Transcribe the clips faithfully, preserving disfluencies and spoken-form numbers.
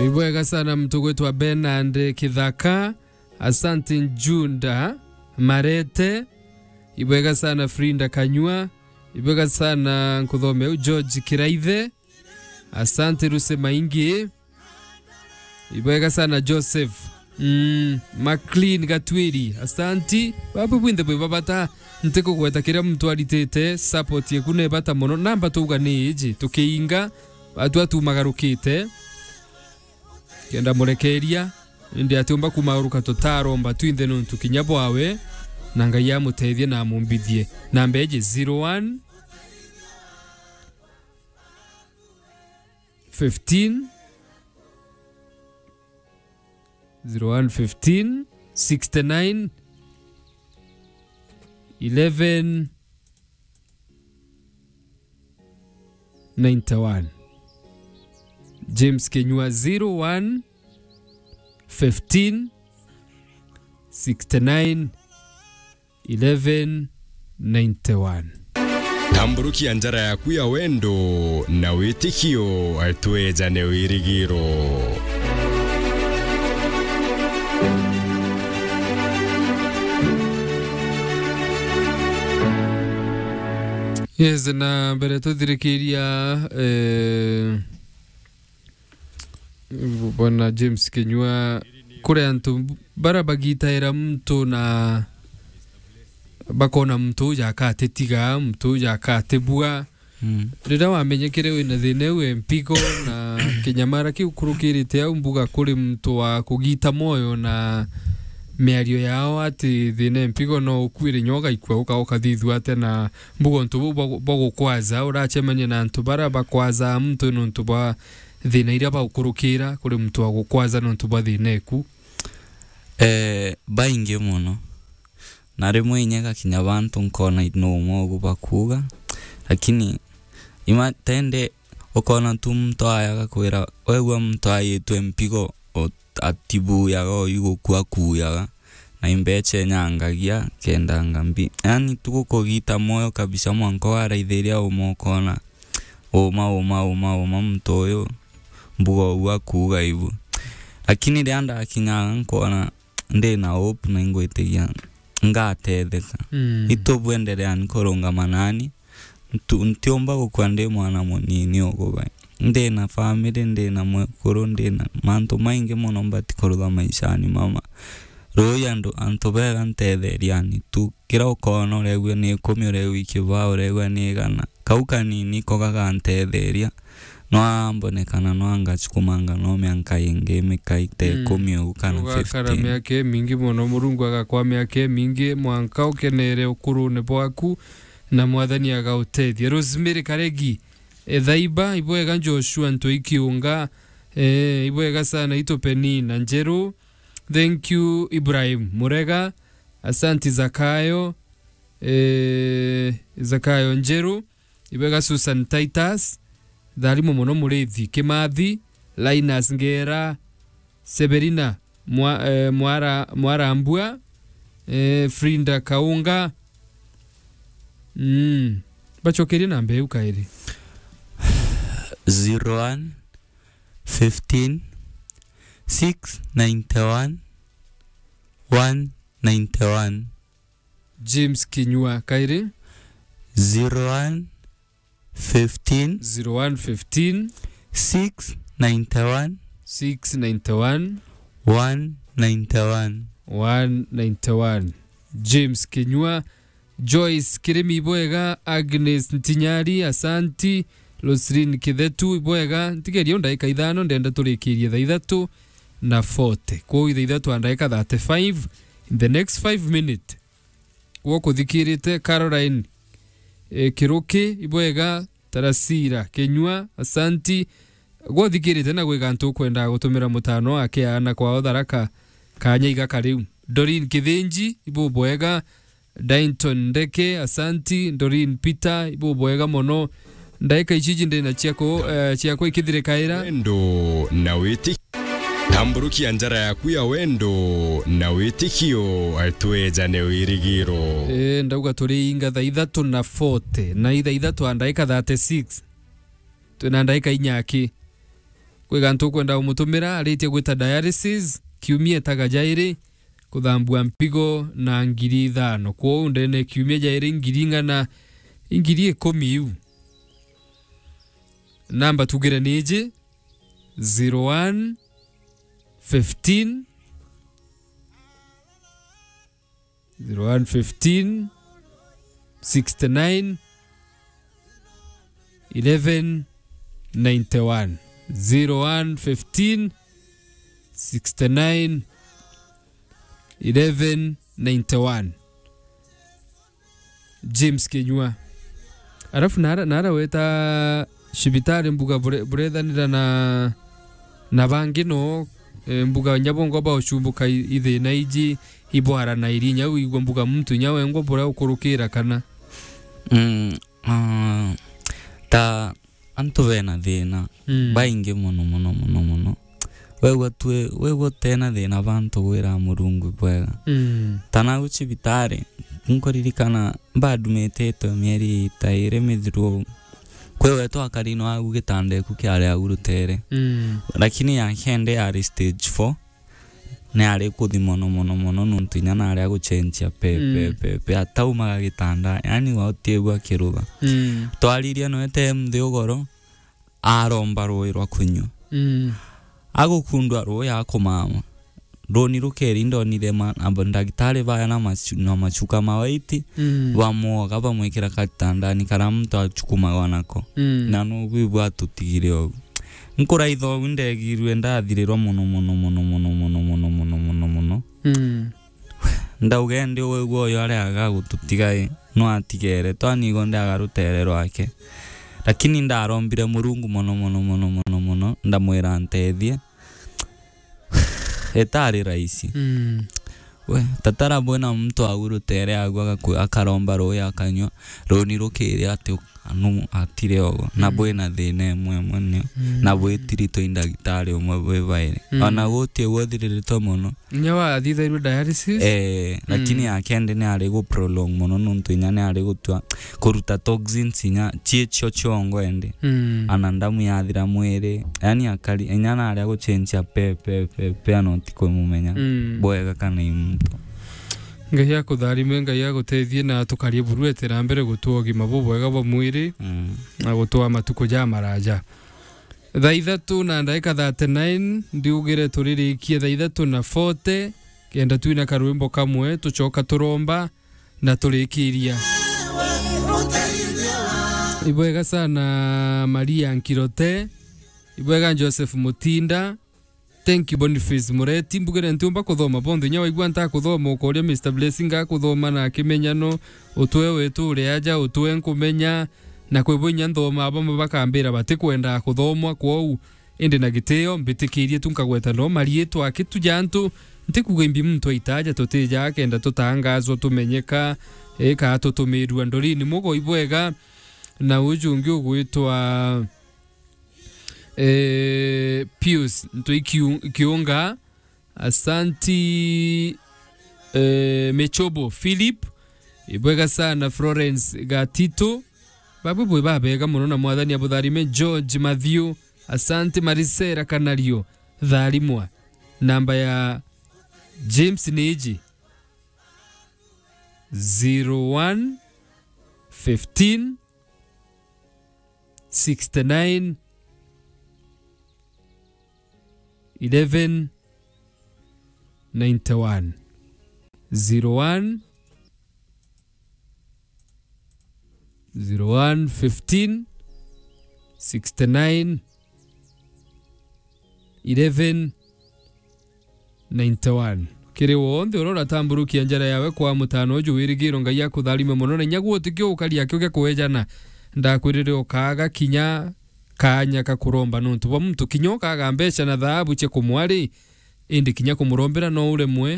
Ibwega sana mtu gwitwa Bernard Kithaka. Asante Njunda Marete. Ibwega sana Frinda Kanyua. Ibwega sana nkuthomea u George Kiraithe. Asante Ruse Maingi. Ibwega sana Joseph. Mm, Maclean Gatwiri. Asanti. Babu bwinthe bwi babata. Ntikugweta kiria muntu aritite. Support yeku ni bata mono. Namba tuuga ni iji. Tukiinga. Batu atumagarukite. Kenda murekeria. Indi atiumba kumaguruka tutaromba twinthe nuntu kinya bwawe. Na Ngai amutethie na amumbithie. Namba iji zero one fifteen, zero one fifteen, sixty nine, eleven, ninety one. James Kenyua, zero one fifteen, sixty nine, eleven ninety one. Tamburukia njara yaku ya wendo na witikio, twejane wirigiro. Yes, na mbere tuthirikiria, eh, Bwana James Kinyua, kuri antu bara bagitaira muntu na bakona muntu uju akatitiga, muntu uju akatibua. Mm. Riria wamenyekere wina thina iu e mpigo na kinyamara kiu kurukirite au mbuga kuri muntu wa kugita moyo na miario yao ati thina e mpigo no ukuire nyoga ikua uka ukathithua atia na mbuga untu buu bwa, bwa gukwaza, uracemania na antu bara bakwaza muntu nuntu bwa thina iria baukurukira kuri muntu wa gukwaza nontu bwa thina eku? Eh, baingi mono. Na rimwe inya igakinya bantu nkona no umwe ugu bakuuga. Lakini ima tende ukona tu muntu aya agakwira, wegua muntu ayitwe mpigo, o-, atibuyaga, oyu gukua akuyaga. Na imbecha inyangagia, kendanga mbi. Yaani, tu gukugita moyo kabisa, mwanka waraithiria uma ukona, uma, uma, uma, uma, muntu uyu, mbuga ugu akuuga ibu. Lakini riria ndakinyaga, nkona ndina hope na ingwitigia ngatetheka. Mm. Itu bwendereani kurungama nani, Ntu-, ntiumba gukua ndi mwana munini ugubai. Ndi na family, ndi na mwekuru, ndi na mantu maingi mono mbati kurutha maishani mama. Rui andu, antu bega ntetheria ni tu. Kira ukona uregua ni ikumi, uregua ikibaa, uregua ni igana. Kau kanini ko gagantetheria. No ambonekana no angachukumanga no mianka ingi mikai ta Mm. ikumi ugu kana Ugakara fifteen. Miaka imingi mono, Murungu agakwa miaka imingi, mwanka ukenere ukurune bwaku. Na Mwathani agautethia. Rosemary Karegi, Ethaiba, ibwega Joshua Ntoi Kiunga, eh, ibwega sana itu Penina Njeru. Thank you Ibrahim Murega, asanti Zakayo, eh, Zakayo Njeru, ibwega Susan Titus, Tharimu mono Murithi Kimathi, Linus Ngera, Severina Mwa-, eh, Mwara-, Mwarambua, eh, Frinda Kaunga. Mm. Bacokerie namba iu kairi. Zero one, fifteen, six ninety one, one ninety one. James Kinyua kairi. Zero one, fifteen, zero one fifteen, six ninety one, six ninety one, one ninety one, one ninety one. James Kinyua, Joyce Kirimi ibwega, Agnes Ntinyari, asanti, Roslyn Kithetu ibwega, ntigeria ndagika ithano, ndenda turikirie thaa ithatu na forty. Kwou thaa ithatu na ndagika thirty-five, in the next five minutes, gwa kuthikirite Caroline, eh, Kiruki, ibwega, Tarasira Kinyua, asanti. Gwa uthikirite na gwi gantu ukwenda gutumira mutano ake ana kwao Tharaka, kanya igaka riu. Doreen Kithinji, ibubwega. Dainton Ndeke, asanti. Doreen Peter, ibubwega mono. Ndaika ici iji ndina ciako, eh, ciakwa ikithirikaira. Wendo na witi-, tamburukia njara yaku ya wendo na witikio, twejane wirigiro. Eh, ndauga turi inga thaa ithatu na forty, na ithaa ithatu na ndaika thirty-six. Twina ndaika inya aki. Kwi gantu ukwenda umutumira, aritie gwita dialysis, kiumia etaga jairi, kuthambua mpigo na ngiri ithano. Kwou ndene kiumia jairi ngiri ing'ana, ngiri ikumi iu. Namba tugire ni iji, zero one fifteen, zero one fifteen, sixty-nine, eleven ninety-one. Zero one fifteen, sixty-nine, eleven ninety-one. James Kinyua. Arafu nara, nara weta cibitari mbuga bure-, burethanira na, na bangi no, eh, mbuga nyabongo ba ucumbuka i-, ithina iji ibwara na irinya wigwa mbuga muntu nya wengwa bura ukurukira kana. Mm, ah, ta antu bena thina, mm, baingi mono, mono, mono, mono. Wegwa twi-, wegwa utena thina bantu gwira Murungu bwega. Mm. Tana gu cibitari, nkuririkana mbadumititwe mieri ta iri mithiru. Kwi we twakari no agu gitanda iku kiari agu rutere. Mm. Lakini ya kende yari stage four. Ni ari kuthi mono, mono, mono, nontu inya nari agucenjia pe, pe, mm, pe, pe, ataumaga gitanda, yani gutiegua kirutha. Mm. Twaririe nwete mthi ugoro, aromba rui rwa kunyua. Mm. Agukundwa rui akumama. Runi rukeri ndonire ma-, amba ndagitari baya na macu-, na macuka ma waiti, mm, bamwoga, bamwikira katandani kara muntu acukumagwa nako. Mm. Na nubu ibu atutigire ogu. Nkuraitha ogu ndegirwe ndathirirwa mono, mono, mono. Mm. Ndauga indi wigua uyu ari agagututiga i, no atigere, twanigo ndi aga rutere rwake. Lakini ndarombire Murungu mono, mono, mono, mono, mono, ndamwira antethie. Itari rahisi. Mm. We, tatara bwena muntu agu rutere agu agaku-, akaromba rui akanyua, runi rukiri ati anu atire ogo, na, mm, bwina thina imwe imwe nio, mm, na bwitiritwe i ndagitari umwe bwi bairi. Mm. Ona guti uthiriritwe mono. Inya wathithairwe dialysis? Eh, lakini, mm, ya kende ni ari gu prolong mono nontu inya ni ari gutua kuruta toxins inya cie cio ciongo ende. Mm. Ana ndamu yathira mwiri, yani akari, inya nari agucenjia pe, pe, pe, pe, ana utikumumenya, mm, bwega kana i muntu. Ngai akutharime, Ngai agutethie na tukarie buru etera mbere gutua ugima bubwega bwa mwiri, mm, na gutua matuku ja maraja. Thaa ithatu na ndagika thirty-nine, ndiugire turirikie thaa ithatu na forty, kenda twina karwimbo kamwe, tucoka turomba na turikiria. Ibwega sana Maria Nkirote, ibwega Joseph Mutinda, Thank you, Boniface Mureti. Mbugire ntiumba kuthoma bonthe. Inya waigua ntakuthoma, ukoria Mister Blessing akuthoma na akimenya no utwe wetu uri aja, utwe nkumenya, na kwi bo inya nthoma, bamwe bakambira batikwenda kuthomwa, kwou indi na gitio mbitikirie tu nkagweta no mariitwa akitu ja antu. Ntikuga imbi muntu aitaja tutija akenda tutangazwa tumenyeka, ika tutumirua ndorini mugo ibwega, na uju ungi ugwitwa Eh, Pius Ntui Kiu-, Kiunga, asanti, eh, Mechobo Philip, ibwega sana Florence Gatito, babwe bwe babega mono na mwathani abutharime George Matthew, asanti Marisera Kanario, tharimwa. Namba ya James ni iji, zero one fifteen, sixty-nine, eleven, ninety-one. Zero one, zero one, fifteen, sixty-nine, eleven, ninety-one. Kiri wonthe uria uratamburukia njara yawe kwa mutano uju wirigiro, Ngai akutharime mono, na inya gutikio ukari akio gia kuejana. Ndakwirire ukaaga kinya kaanya ka kuromba nontu bwa muntu, kinya ukaaga mbeca na thaabu cia kumwari, indi kinya kumurombera no uremwe.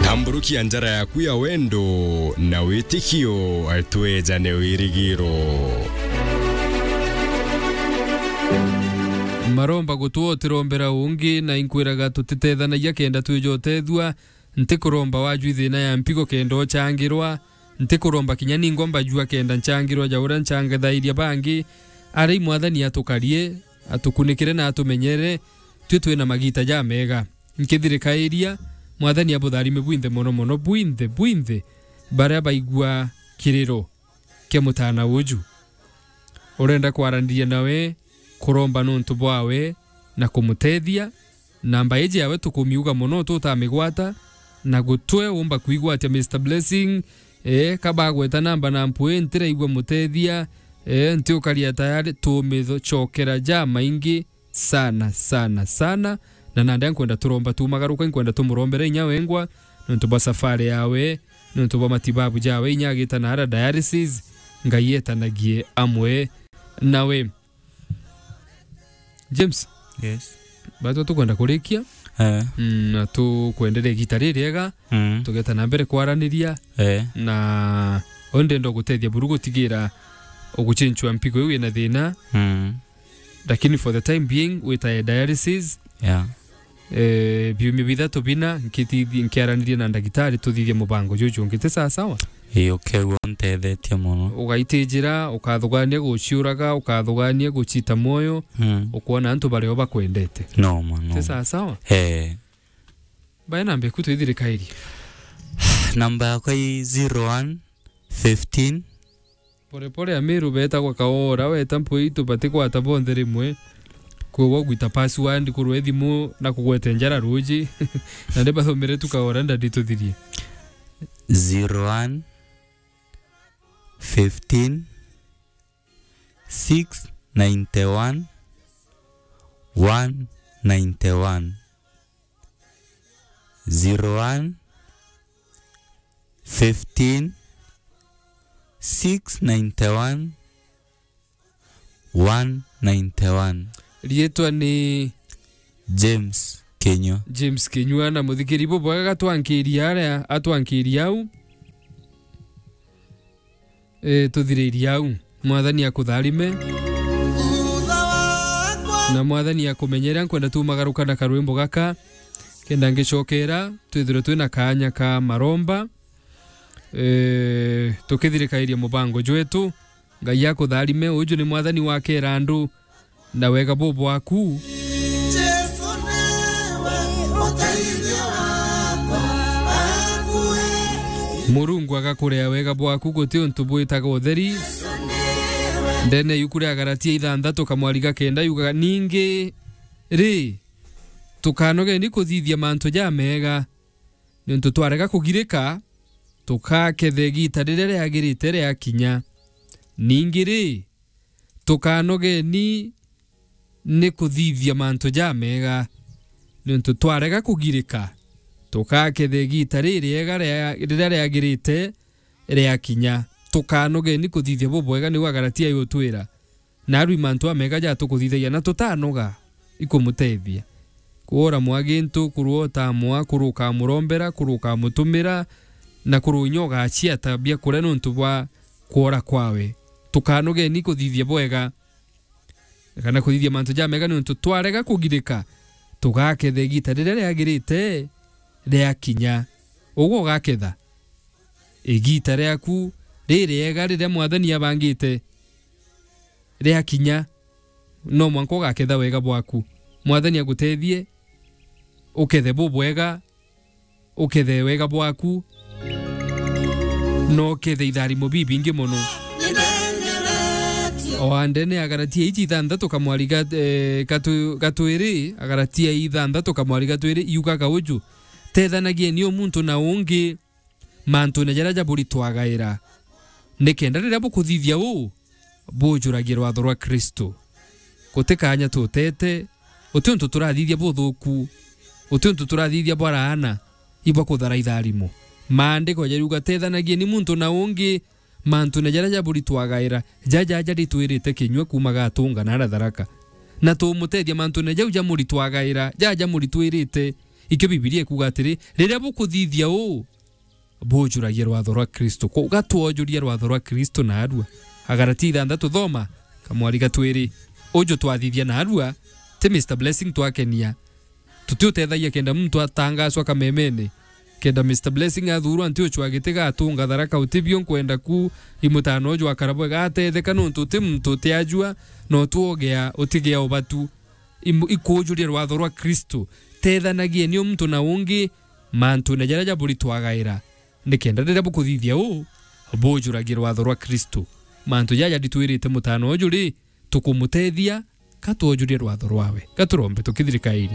Tamburukia njara yaku ya wendo na witikio, twejane wirigiro. Maromba gutwa utirombera ungi, na inkwiraga tutitethanagia kenda twija utethua. Ntikuromba wajua ithina ya mpigo kenda uchangirwa. Ntikuromba kinya ningwa mbajua kenda nchangirwa ja uria nchangithairia bangi. Ari mwathani atukarie, atukunikire na atumenyere, twi twina magiita jamega. Nkithirikairia, Mwathani abutharime bwinthe mono mono, bwinthe, bwinthe, baria baigua kiriro kia mutaana uju. Urenda kwaraniria nawe, kuromba nontu bwawe, na kumutethia, namba iji yawe tukumiuga mono, tutamigwata, na gutwe umba kwigwatia Mister Blessing, eh, kabagweta namba na mpwi, ntiraigua mutethia, eh, ntiukaria tayari, tumithocokera jamaingi sana, sana, sana, na nandi nkwenda turomba tumagaruka, nkwenda tumurombere inya wengwa, nontu bwa safari yawe, nontu bwa matibabu jawe, inya agita na ara dialysis, Ngai etanagie amwe nawe. James. Yes. Batwa tukwenda kurikia. Eh. Mm, na tukwenderea igita ririega. Mm. Tugeta na mbere kwaraniria. Eh. Na undi ndo gutethia buru gutigira uguchinchwa mpigo iu ina thina. Mm. Lakini for the time being, witae dialysis. Yeah. Eh, biumia bithatu bina, nkitithi-, nkiaranirie na ndagitari, tuthithie mubango juju ungi, ti sawa sawa? Ii, ukegua untethetie mono. Ugaitijira, ukathugania guciuraga, ukathugania gucita mwoyo, mm, ukwona antu bario bakwendete. No, ma, no. Ti sawa sawa? Eh. Bae namba eku twithirikairie. Namba yakwa i zero one fifteen. Pore pore Amiru betagwa Kaora, weta mpwi itu batikwata bonthe rimwe. Kwogwa gwita password kurwa thimu na kugwete njara ruji. Na ndi bathomere tu Kaora ndadi tuthirie. Zero one, fifteen, six ninety one, one ninety one. Zero one, fifteen, six ninety one, one ninety one. Riitwa ni James Kinyua. James Kinyua, na muthikiri bubwega gatwankiria aria, atwankiria au. Eh, tuthiririe au. Mwathani akutharime. Na Mwathani akumenyere, nkwenda tumagaruka na karwimbo gaka. Kenda ngicokera, twithirwe twina kaanya ka maromba. Eh, tukithirikairia mubango jwetu. Ngai akutharime. Uju ni Mwathani wakera andu na wega bubwaku. Murungu agakurea wega bwaku guti untu bwitaga utheri. Ndene yuku ria Galatia ithanthatu kamwari ga kenda yugaga, ningi ri, tukanogeni kuthithia mantu jamega, niuntu twarega kugirika, tukaketha igita riria riagirite riakinya. Ningi ri, tukanogeni ni kuthithia mantu jamega, niuntu twarega kugirika, tukaketha igita ririega ria-, riria riagirite riakinya. Tukanogeni kuthithia bubwega, niu Agalatia yutwira. Naarua i mantu amega jatukuthithagia na tutanoga ikumutethia. Kwora mwa gintu, kurwa utamwa, kurwa ukamurombera, kurwa ukamutumira, na kurwa inya ugaciata biakuria niuntu bwa kwora kwawe. Tukanogeni kuthithia bwega, kana kuthithia mantu jamega, niuntu twarega kugirika, tugaketha igita riria riagirite riakinya. Ugwe ugaketha igita riaku ririega riria Mwathani abangite riakinya, no mwanka ugaketha wega bwaku. Mwathani agutethie ukethe bubwega, ukethe wega bwaku, na ukethe itharimo bibingi mono. O andene Agalatia iji ithanthatu kamwari ga-, eh, gatu-, gatwiri, Agalatia ithanthatu kamwari gatwiri, yugaga uju, "Tethanagieni o muntu na ungi mantune jaria jaburitwagaira, nikenda riria bukuthithia uu, bujuragie rwatho rwa Kristo." Guti kaanya tutete, guti untu turathithia buthuku, guti untu turathithia bwa laana, ibwa kuthara itharimo. Maandiko jariuga, "Tethanagieni muntu na ungi mantune jaria jaburitwagaira, jaja jaritwirite kinyua kuuma gatunga na aratharaka." Na tumutethia mantune jau jamuritwagaira, jaja jamuritwirite. Ikio Bibilia ikuuga atiri, riria bukuthithia uu, bujuragia rwatho rwa Kristo. Kwou gatwojuria rwatho rwa Kristo naarua. Agalatia ithanthatu thoma, kamwari gatwiri. Uju twathithia naarua, ti Mister Blessing twakenia. Tutiutethagia kenda muntu atangacwa kamemene. Kenda Mister Blessing athuurwa nti ucwa giti gatunga Tharaka Utibio, nkwenda ku i mutano uju akara bwega atetheka, nontu uti muntu utiajua, no twogea utigea ubatu. Imu-, ikujuria rwatho rwa Kristo. Tethanagieni o muntu na ungi mantune jaria jaburi twagaira, nikenda riria bukuthithia uu, bujuragie rwatho rwa Kristo. Mantu jaja jatwirite mutano uju ri, tukumutethia ka twojurie rwatho rwawe. Ka turombe tukithirikairi.